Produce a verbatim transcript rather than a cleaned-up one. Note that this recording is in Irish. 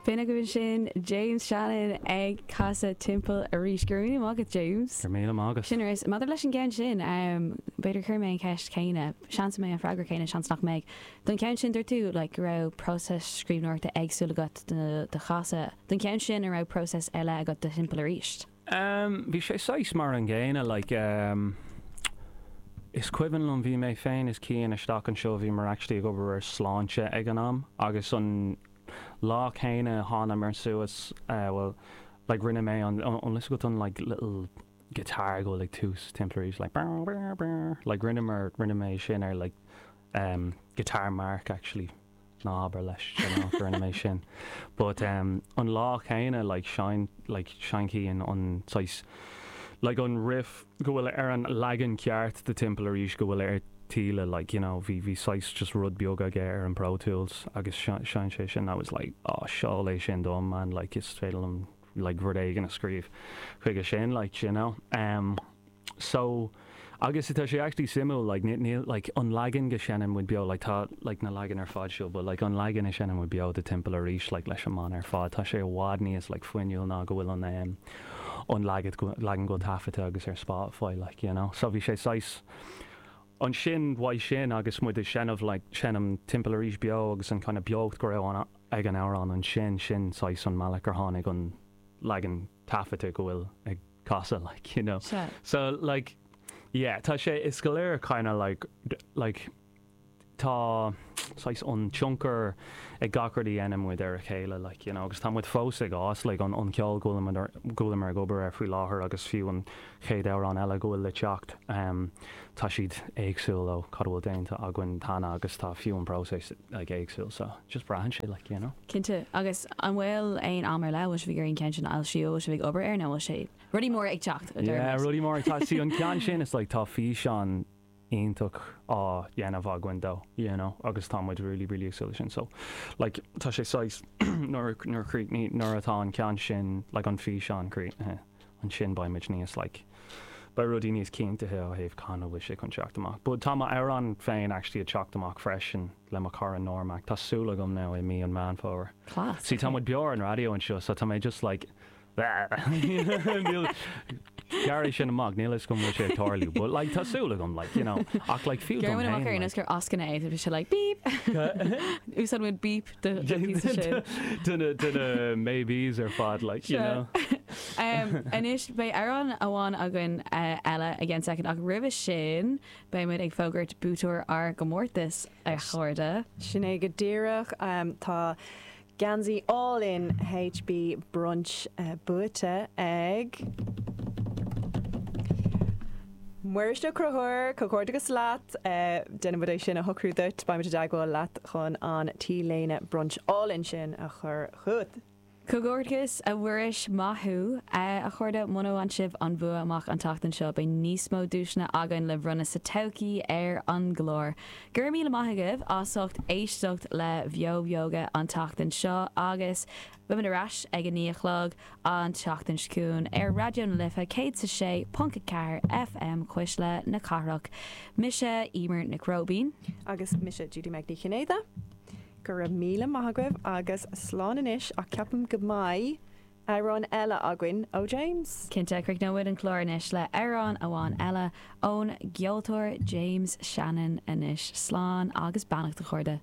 B'in agaibh sin James Shannon ag casadh Timpeall Arís. Go raibh míle maith agat, James. Go raibh míle maith agat. Sin arís. Maidir leis an gceann sin, um, b'fhéidir chuir mé an cheist chéanna, seans mbeidh an freagra céanna, seans nach mbeidh. Don cheann sin dúirt tú like, go raibh próiseas scríbhneoireachta éagsúil agat do, do Chasadh. Don cheann sin an raibh próiseas eile agat do Timpeall Arís. Um, bhí sé saghas mar an gcéanna like, um, Is cuimhin liom bhí mé féin is Cian isteach anseo bhí mar actually ag obair ar Sláinte ag an am agus an lá céanna thánamar suas uh, well like rinne mé an an list an like little guitar go like tús Timpeall Arís like brr, brr, brr. like rinne mar rinne mé sin ar like um, guitar Mark actually ná habair leis you know, rinne mé sin but um, an lá céanna like sheinn like sheinn Cian an saghas like an riff go bhfuil ar an leagan ceart de Timpeall Arís go bhfuil ar Tíle like you know bhí bhí saghas just rud beag aige ar an Pro Tools agus sheinn sé sin I was like oh seol é sin dom man like is féidir liom like rud éigin a scríobh chuige sin like you know um so agus tá sé actually suimiúil like níl like an leagan go seinneann muid beo like tá like na leagan ar fad seo but like an leagan a seinneann muid beo de Timpeall Arís like leis an mbanna ar fad tá sé i bhfad níos like fuinniúil ná go bhfuil an um, an leagan leagan go taifeadta agus ar Spotify like you know so bhí sé saghas ansin uaidh sin agus muid ag seinm like seinm Timpeall Arís beo agus an kind of beocht go raibh an ag an amhrán ansin sin saghas an mbealach ar tháinig an leagan taifeadta go bhfuil ag Casadh like you know Se. so like yeah tá sé is go léir kind of like d- like tá saghas an tionchar ag gach rud a dhéanann muid ar a chéile like you know agus tá muid fós ag fás like an an ceol go bhfuil go bhfuil ag obair ar faoi láthair agus fiú an chéad amhrán eile go bhfuil le teacht um, tá siad éagsúil ó cad bhfuil déanta againn cheana agus tá fiú an próiseas like éagsúil so just braitheann sé like you know Cinnte agus an bhfuil aon am ar leith bhí ar an ceann sin alsíó se bh obair ar nó bhfuil sé rudaí mór ag teacht. a Yeah, deir rudaí mór tá sí an ceann sin is like tá físeán iontach á dhéanamh againn dó, you know, agus tá muid really really ag súil sin so like tá sé saghas nuair nuair chríochnaí nuair atá an ceann sin like an físeán críochnaithe ansin beimid níos like beidh rudaí níos cinnte ó thaobh cathain a bhfuil sé chun teacht amach. But tá amhrán féin actually ag teacht amach freisin le mo chara Normac Tá súil agam now i mí an Meán Fómhair. Class. Sí tá muid beo ar an raidió anseo so tá mé just like Níl Gary sin amach níl is go bhfuil sé ag tarlú, but like tá súil agam like you know ach like fiú dom Gur amach ar féin, gur ascanna é bhí sé like beep Úsáid muid beep de sin. Duine duine maybes ar fad like you Sure. know. Um, Anois beidh amhrán amháin againn uh, eile again second ach roimhe sin beidh muid ag fógairt buaiteoir ár gcomórtas a chairde. Sin é go díreach um, tá geansaí all in HB brunch uh, buaite ag Muiris Ó Conchúir comhghairdeas leat uh, déanfaimid é sin a shocrú duit beimid i dteagmháil leat chun an t-léine brunch all in sin a chur chugat. Comhghairdeas a Mhuiris maith thú a chairde muna bhfuair sibh an bua amach an tseachtain seo beidh níos mó duaiseanna againn le bronnadh sa todhchaí ar an gclár. Gur míle maith agaibh as ucht éisteacht le Beo Beoga an tseachtain seo agus beimid ar ais ag a naoi a chlog an tseachtain seo chugainn ar Raidió na Life céad sa sé ponc ceathair FM Cuisle na Cathrach. Mise Emer Nic Róibín. Agus mise Judy Meg Ní Chinnéide. Go raibh míle maith agaibh agus slán anois ach ceapaim go mbeidh amhrán eile againn ó James. Cinnte críochnóimid an clár anois le amhrán amháin eile ón gceoltóir James Shannon anois slán agus beannacht a chairde.